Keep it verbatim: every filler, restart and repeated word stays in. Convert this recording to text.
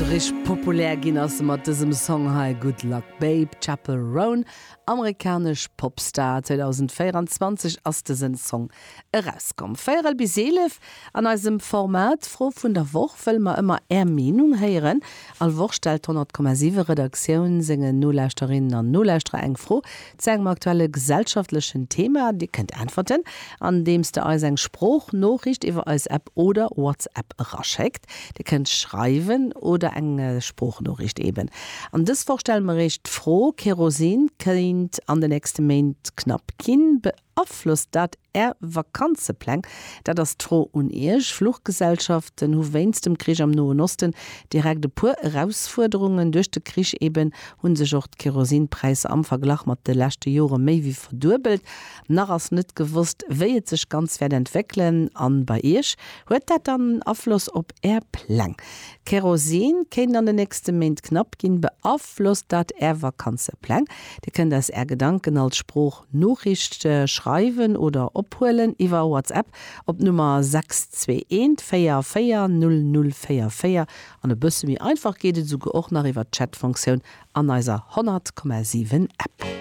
Sou richteg populär ginn ass se mat dësem Song hei Good Luck Babe, Chappell Roan, amerikanesch Popstar. zweedausendvéieranzwanzeg ass dësen Song erauskomm. Véierel bis eelef. An eisem Format Fro vun der Woch wëlle mer ëmmer Är Meenung héieren. All Woch stellt d'honnert Komma siwe Redaktioun sengen Nolauschterinnen an Nolauschterer eng Fro zu engem aktuelle gesellschaftlechen Thema. Dir kënnt äntwerten, andeems der eis eng Sproochnoriicht iwwer eis App oder WhatsApp eraschéckt. Dir kënnt schreiwen oder eng Sproochnoriicht eben. An dës Woch stelle mer iech d'Fro, Kerosin kéint an den nächste Méint knapp ginn. Beaflosst dat Är Vakanzepläng? Dat ass d'Fro un Iech. Fluchgesellschaften hu wéinst dem Krich am Noen Osten direkt e puer Erausfuerderungen. Duerch de Krich eben hu sech och d'Kerosinpräisser am Verglach mat de leschte Jore méi wéi verduebelt. Nach ass net gewosst, wéi et sech ganz wäert entwéckelen. An bei Iech, huet dat dann Afloss op Är Pläng? Kerosin kéint an den nächste Méint knapp ginn. Beaflosst dat Är Vakanzepläng? Dir kënnt eis Är Gedanken als Sproochnoriicht schreiwen oder ophuelen iwwer WhatsApp op d'Nummer sechs zwee eent véier véier null null véier véier. An e bësse méi einfach geet et esouguer och nach iwwer d'Chat-Funktioun an eiser honnert Komma siwen App.